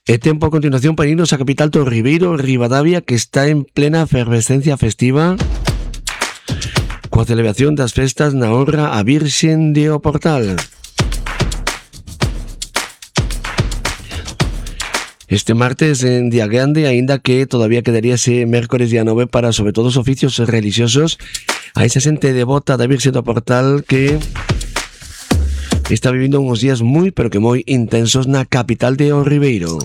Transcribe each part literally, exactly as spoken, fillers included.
E tempo a continuación para irnos a capital do Ribeiro, Ribadavia, que está en plena efervescencia festiva coa celebración das festas na honra a Virxen de o Portal. Este martes en día grande, aínda que todavía quedaría ese mércores día nove para sobre todo os oficios religiosos a esa xente devota da Virxen do Portal que está vivindo uns días moi, pero que moi intensos na capital de O Ribeiro.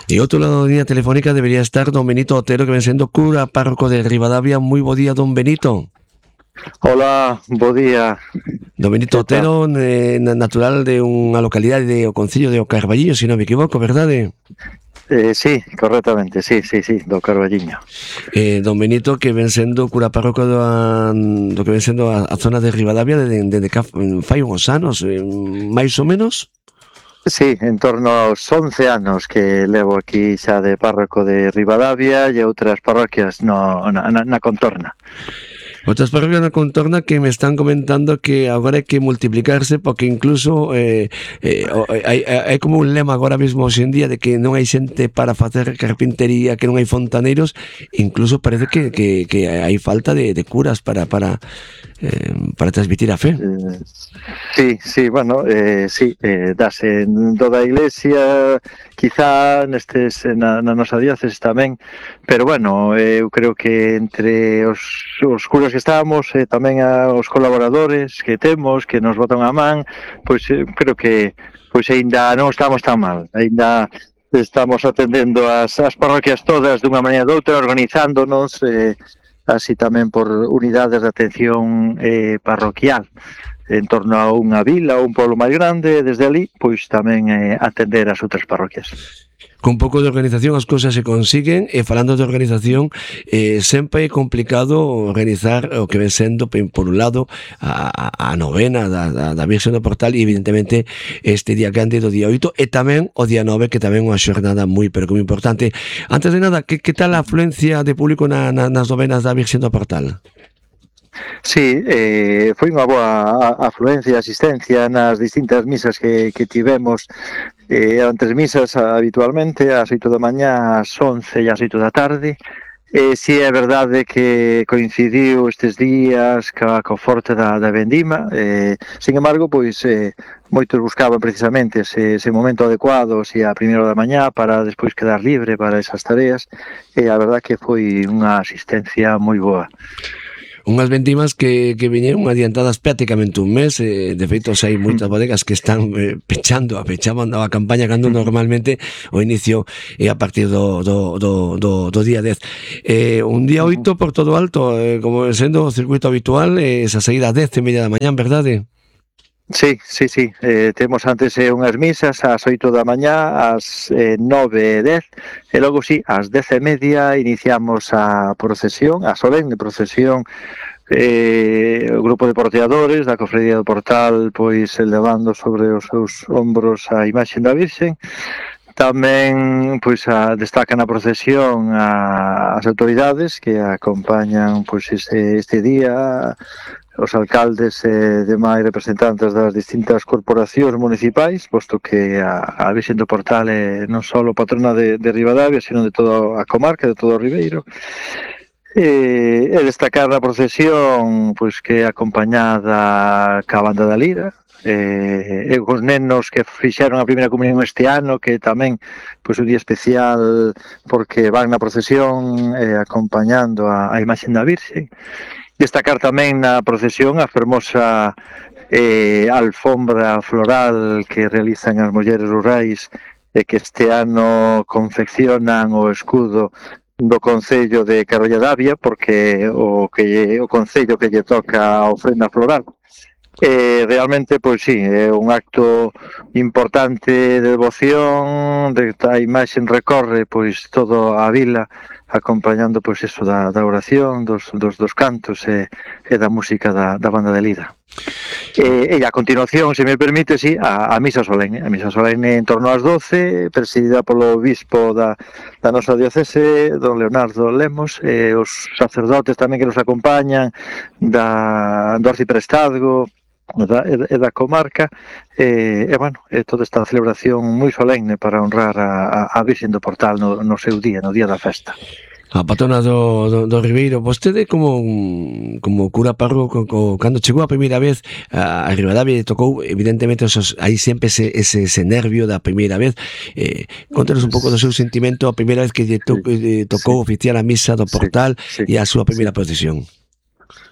E outro lado da línea telefónica debería estar don Benito Otero, que ven sendo cura párroco de Ribadavia. Moi bo día, don Benito. Hola, bo día. Don Benito Otero, eh, natural de unha localidade do concello de O Carballiño, se non me equivoco, verdade? Eh, sí, correctamente, sí, sí, sí, do Carballiño. Eh, don Benito, que ven sendo cura párroco do, do que ven sendo a, a zona de Ribadavia desde de, de, de fai uns anos, eh, máis ou menos? Sí, en torno aos once anos que levo aquí xa de párroco de Ribadavia e outras parroquias no, na, na, na contorna. Outras parroquias na contorna que me están comentando que agora hai que multiplicarse porque incluso eh, eh, hai, hai como un lema agora mesmo hoxe en día de que non hai xente para facer carpintería, que non hai fontaneiros, incluso parece que, que, que hai falta de, de curas para para eh, para transmitir a fe. Eh, sí, sí, bueno, eh, sí, eh, dase en toda a iglesia, quizá nestes na, na nosa diócesis tamén, pero bueno, eh, eu creo que entre os, os curas que estamos e eh, tamén a, os colaboradores que temos, que nos botan a man, pois eh, creo que pois aínda non estamos tan mal, aínda estamos atendendo as, as parroquias todas dunha maneira ou doutra, organizándonos, eh, así tamén por unidades de atención eh, parroquial en torno a unha vila ou un pueblo máis grande, desde ali, pois tamén eh, atender as outras parroquias. Con pouco de organización as cousas se consiguen e falando de organización eh, sempre é complicado organizar o que ven sendo por un lado a, a novena da, da, da Virxen do Portal e evidentemente este día grande do día oito e tamén o día nove que tamén é unha xornada moi pero que moi importante. Antes de nada, que, que tal a afluencia de público na, na, nas novenas da Virxen do Portal? Sí, eh, foi unha boa afluencia, asistencia nas distintas misas que, que tivemos. Eh, eran tres misas habitualmente, ás oito da mañá, ás once e ás oito da tarde. Eh, si é verdade que coincidiu estes días ca, co forte da, da vendima, eh, sin embargo, pois eh, moitos buscaban precisamente ese, ese momento adecuado, si a primeira da mañá, para despois quedar libre para esas tareas, e a verdade que foi unha asistencia moi boa. Unhas vendimas que, que viñeron adiantadas prácticamente un mes, eh, de feito hai moitas bodegas que están eh, pechando, a pechaban a campaña cando normalmente o inicio é a partir do, do, do, do, do día dez. Eh, un día oito por todo alto, eh, como sendo o circuito habitual, eh, esa saída a dez e media da mañán, verdade? Sí, sí, sí, eh, temos antes eh, unhas misas ás oito da mañá, ás eh, nove e dez, e logo sí, ás dez e media iniciamos a procesión, a solemne procesión, eh, o grupo de porteadores da Cofradía do Portal, pois elevando sobre os seus ombros a imaxe da Virxen. Tamén pois a, destacan a procesión a, as autoridades que acompañan pois este, este día, os alcaldes e demais representantes das distintas corporacións municipais, posto que a, a Virxen do Portal é non só patrona de, de Ribadavia, sino de toda a comarca, de todo o Ribeiro. E, e destacar a procesión pois que é acompañada ca banda da Lira, e, e os nenos que fixeron a primeira comunión este ano, que tamén pois un día especial porque van na procesión eh, acompañando a, a imaxe da Virxen. Destacar tamén na procesión a fermosa eh, alfombra floral que realizan as mulleres rurais e que este ano confeccionan o escudo do Concello de Carballadavia, porque o que o Concello que lle toca a ofrenda floral. Eh, realmente, pois sí, é un acto importante de devoción, de a imaxe recorre pois todo a vila, acompañando pois eso da, da oración, dos, dos, dos cantos e, e da música da, da banda de Lira. E, e a continuación, se me permite, sí, a, a misa solene, a misa solene en torno ás doce, presidida polo obispo da, da nosa diocese, don Leonardo Lemos, e os sacerdotes tamén que nos acompañan da, do arciprestazgo, da, e da comarca, e, e bueno, é toda esta celebración moi solemne para honrar a, a Virxen do Portal no, no seu día, no día da festa. A patrona do, do, do Ribeiro. Vostede como como cura párroco, co, cando chegou a primeira vez a, a Ribadavia, tocou evidentemente esos, aí sempre ese, ese, ese nervio da primeira vez. eh, Contanos un pouco do seu sentimento a primeira vez que lle to, eh, tocou sí. oficiar a misa do Portal sí, sí, e a súa primeira sí. procesión.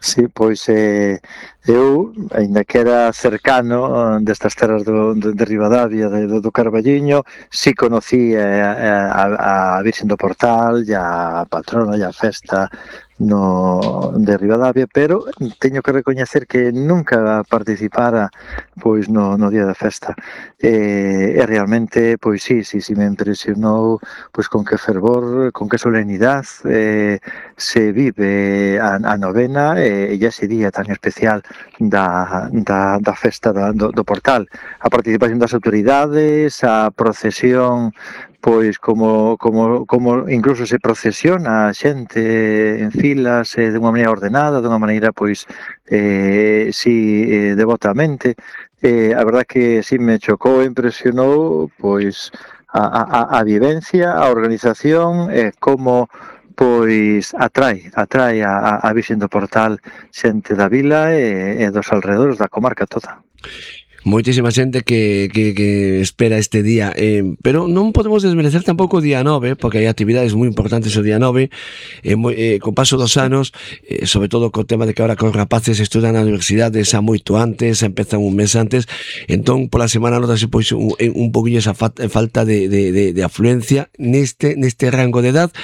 Sí, pois eh, eu, ainda que era cercano destas terras do, de, de Ribadavia, de, do Carballiño, si conocí a, a, a Virxen do Portal, e a patrona, e a festa no de Ribadavia, pero teño que recoñecer que nunca participara pois no, no día da festa. E, e realmente, pois sí, sí, sí me impresionou pois con que fervor, con que solemnidade eh, se vive a, a novena e, e ese día tan especial da, da, da festa da, do, do Portal. A participación das autoridades, a procesión, pois como, como, como incluso se procesiona a xente en filas eh, de unha maneira ordenada, de unha maneira pois eh, si eh, devotamente. Eh, a verdad que si me chocou e impresionou pois a, a, a vivencia, a organización e eh, como pois atrae, atrae a, a Virxen do Portal xente da vila e, e dos alrededores da comarca toda. Moitísima xente que, que, que espera este día, eh, pero non podemos desmerecer tampouco o día nove, porque hai actividades moi importantes o día nove, eh, moi, eh, co paso dos anos, eh, sobre todo co tema de que ahora cos rapaces estudan na universidade xa moito antes, empezan un mes antes, entón pola semana notase pois un, un poquinho esa fa, falta de, de, de, de afluencia neste neste rango de edad,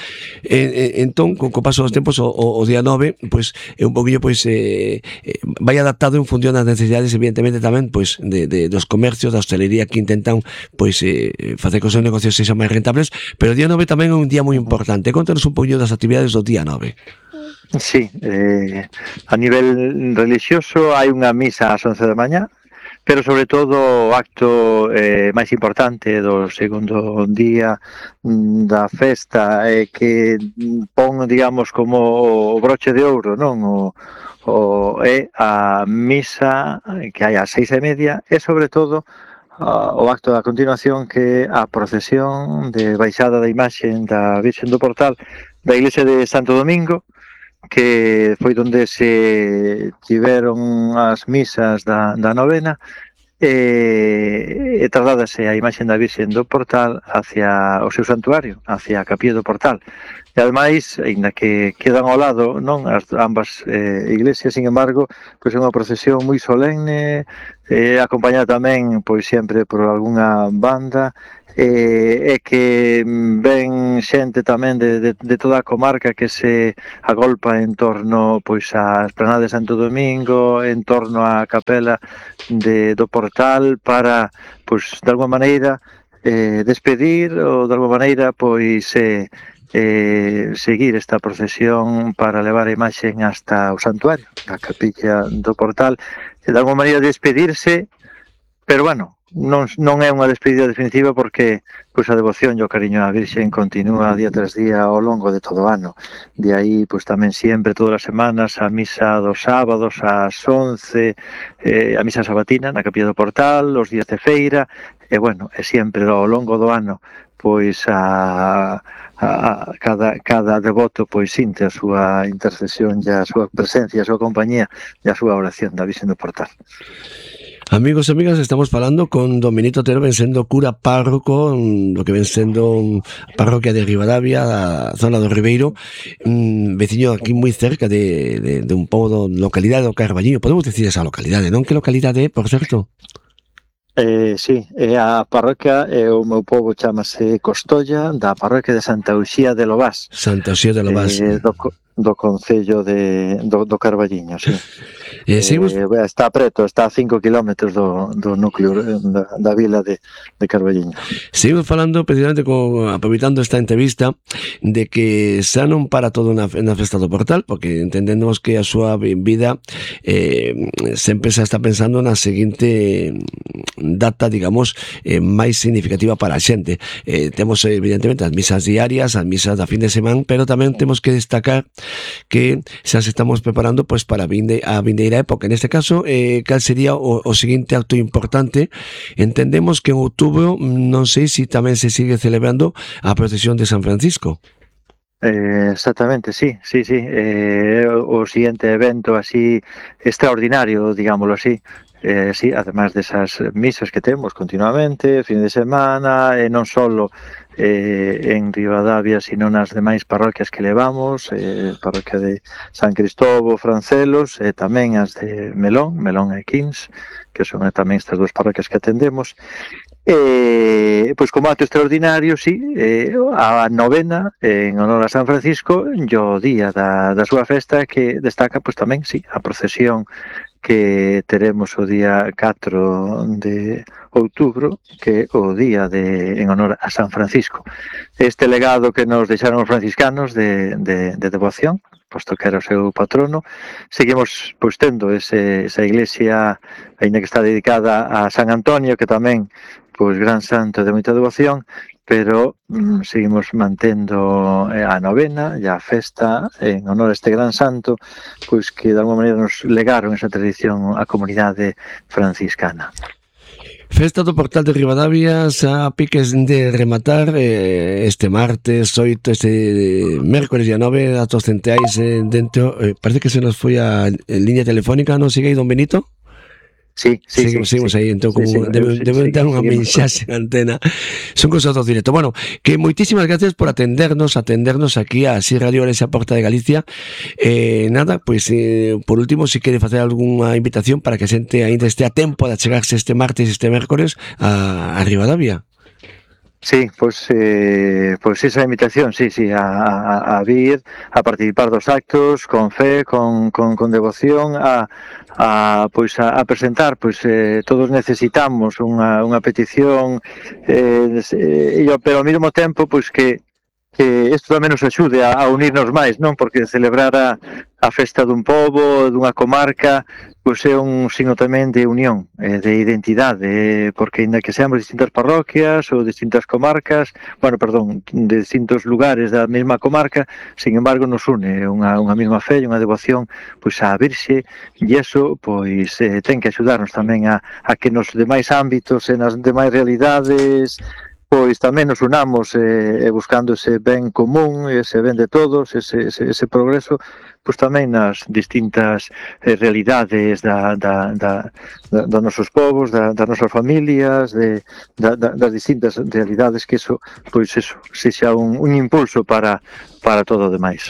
eh, eh, entón co, co paso dos tempos o, o, o día nove pois é un poquinho pois eh, eh, vai adaptado en función das necesidades, evidentemente tamén pois De, de, dos comercios, da hostelería que intentan pois eh, facer que os seus negocios sexan máis rentables, pero o día nove tamén é un día moi importante. Contanos un poquinho das actividades do día nove. Sí, eh, a nivel religioso hai unha misa ás once da mañá, pero sobre todo o acto eh, máis importante do segundo día da festa eh, que pon, digamos, como o broche de ouro, non? O, o, é a misa que hai ás seis e media e sobre todo uh, o acto da continuación que a procesión de baixada da imaxe da Virxen do Portal da iglesia de Santo Domingo, que foi onde se tiveron as misas da, da novena e, e trasladase a imaxe da Virxen do Portal hacia o seu santuario, hacia a capilla do Portal. E ademais, ainda que quedan ao lado, non, as ambas eh, iglesias, sin embargo, pois é unha procesión moi solemne, eh, acompañada tamén, pois sempre por algunha banda, e, e que ven xente tamén de, de, de toda a comarca que se agolpa en torno pois á esplanada de Santo Domingo, en torno á capela de, do Portal, para, pois, de alguma maneira, eh, despedir ou de alguma maneira, pois, eh, eh, seguir esta procesión para levar a imaxe hasta o santuario, a capilla do Portal, e de alguma maneira despedirse, pero bueno, non, non é unha despedida definitiva porque pois, a devoción e o cariño á Virxen continúa día tras día ao longo de todo o ano. De aí, pois tamén sempre, todas as semanas, a misa dos sábados ás once, eh, a misa sabatina na capilla do Portal, os días de feira, e bueno, e sempre ao longo do ano, pois a, a, a cada, cada devoto pois sinte a súa intercesión e a súa presencia, a súa compañía e a súa oración da Virxen do Portal. Amigos e amigas, estamos falando con Dominito Otero, ven sendo cura párroco do que ven sendo parroquia de Ribadavia, a zona do Ribeiro, un veciño aquí moi cerca de, de, de un pobo da localidade do Carballiño. Podemos decir esa localidade, non? Que localidade é, por certo? Eh, sí, é a parroquia, e o meu pobo chamase Costolla, da parroquia de Santa Uxía de Lobás. Santa Uxía de Lobás. Eh, do, do concello de, do, do Carballiño, sí. Eh, seguimos... eh, está preto, está a cinco kilómetros do, do núcleo da, da vila de, de Carballiño. Seguimos falando precisamente con, aproveitando esta entrevista, de que xa non para todo na, na festa do Portal, porque entendemos que a súa vida eh, sempre xa está pensando na seguinte data, digamos, eh, máis significativa para a xente. Eh, temos evidentemente as misas diarias, as misas da fin de semana, pero tamén temos que destacar que xa se estamos preparando pois para a, vinde, a vindeira época. En este caso, eh, cal sería o, o seguinte acto importante? Entendemos que en outubro, non sei se tamén se sigue celebrando a procesión de San Francisco. Eh, exactamente, sí, sí, sí. Eh, o, o siguiente evento así extraordinario, digámoslo así. Eh, sí, además desas misas que temos continuamente, fin de semana, e non solo eh, en Ribadavia, sino nas demais parroquias que levamos, eh, parroquia de San Cristóbal, Francelos, e tamén as de Melón, Melón e Quins, que son tamén estas dúas parroquias que atendemos. Eh, pois como acto extraordinario, sí, eh, a novena en honor a San Francisco, o día da, da súa festa, que destaca pois tamén, sí, a procesión que teremos o día catro de outubro, que é o día de, en honor a San Francisco. Este legado que nos deixaron os franciscanos de, de, de devoción, posto que era o seu patrono, seguimos pois tendo ese, esa iglesia, aínda que está dedicada a San Antonio, que tamén pois gran santo de moita devoción, pero mm, seguimos mantendo a novena e a festa en honor a este gran santo, pois que de alguma maneira nos legaron esa tradición á comunidade franciscana. Festa do Portal de Ribadavia xa piques de rematar eh, este martes oito, este mércores día nove, datos centrais eh, dentro, eh, parece que se nos foi a línea telefónica, non sigue aí, don Benito? Sí, sí, seguimos, sí, seguimos sí, aí, entón sí, como sí, debe, sí, debe sí, dar unha seguimos. mensaxe en antena. Son cosas do directo. Bueno, que moitísimas gracias por atendernos, atendernos aquí a Así Radio Orense Porta de Galicia. Eh, nada, pois pues, eh, por último, se si quere facer algunha invitación para que a xente ainda este a tempo de achegarse este martes e este mércores a, a Ribadavia. Sí, pois, eh, pois esa invitación, sí, sí, a, a, a vir, a participar dos actos, con fe, con, con, con devoción, a, a, pois, a, a presentar, pois, eh, todos necesitamos unha, unha petición, eh, eh, pero ao mesmo tempo, pois, que que isto tamén nos axude a, a unirnos máis, non? Porque celebrar a, a festa dun pobo, dunha comarca, pois é un signo tamén de unión, eh, de identidade, eh, porque ainda que seamos distintas parroquias ou distintas comarcas, bueno, perdón, de distintos lugares da mesma comarca, sin embargo nos une unha, unha mesma fe e unha devoción pois a Virxe, e iso pois eh, ten que axudarnos tamén a, a que nos demais ámbitos e nas demais realidades pois tamén nos unamos eh, buscando ese ben común, ese ben de todos, ese, ese, ese progreso, pois tamén nas distintas eh, realidades da, da, da, da, dos nosos povos, da, das nosas familias, de, da, da, das distintas realidades, que eso, pois eso, sexa un, un impulso para, para todo o demais.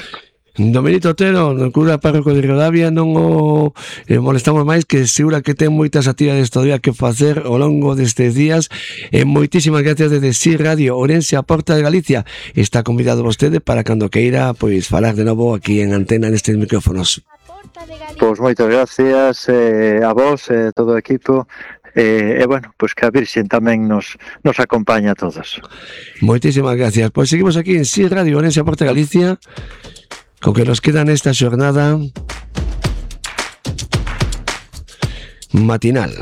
Don Benito Otero, no cura párroco de Ribadavia, non o eh, molestamos máis, que segura que ten moitas actividades todavía que facer ao longo destes días. E moitísimas gracias desde Así Radio Orense a Porta de Galicia. Está convidado vostede para cando queira pois falar de novo aquí en antena nestes micrófonos. Pois moitas gracias eh, a vos e eh, todo o equipo. E, eh, bueno, pois que a Virxen tamén nos, nos acompaña a todos. Moitísimas gracias. Pois seguimos aquí en Así Radio Orense a Porta de Galicia, con que nos queda nesta xornada matinal.